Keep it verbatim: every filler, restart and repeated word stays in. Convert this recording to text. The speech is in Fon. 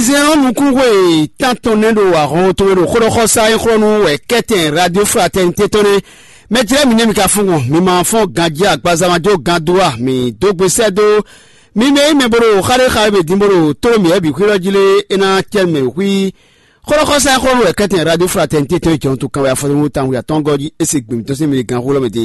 Zɛn ɔ́ nukúnxwe tántɔn nɛ́ ɖo ahɔn tɔn mɛ ɖo xóɖɔxɔsá e xlɔ́ nú wɛ kɛ́tɛn Radio Fraternité tɔn nɛ́. Mɛ jlɛ́ mi nɛ́ mi ka fún gbɔn, mi ma fɔ́n ganjí agbaza ma jó gan dó a, mi dó gbe sɛ́ dó mi mɛ e nyí mɛ bo ɖo xa ɖé xa e bǐ dín bó ɖo tló mǐ wɛ bǐ xwí lɔ jí lé, é ná cɛ mɛ xwí. Xóɖɔxɔsá e xlɔ́ nú wɛ kɛ́tɛn Radio Fraternité tɔn e jɔ̌n tɔn kan wɛ afɔtɔ́mú tawun atɔ́ɔ́ngɔ́ jí é se gběmítɔn sín mɛ gán xó lɔ mɛ din.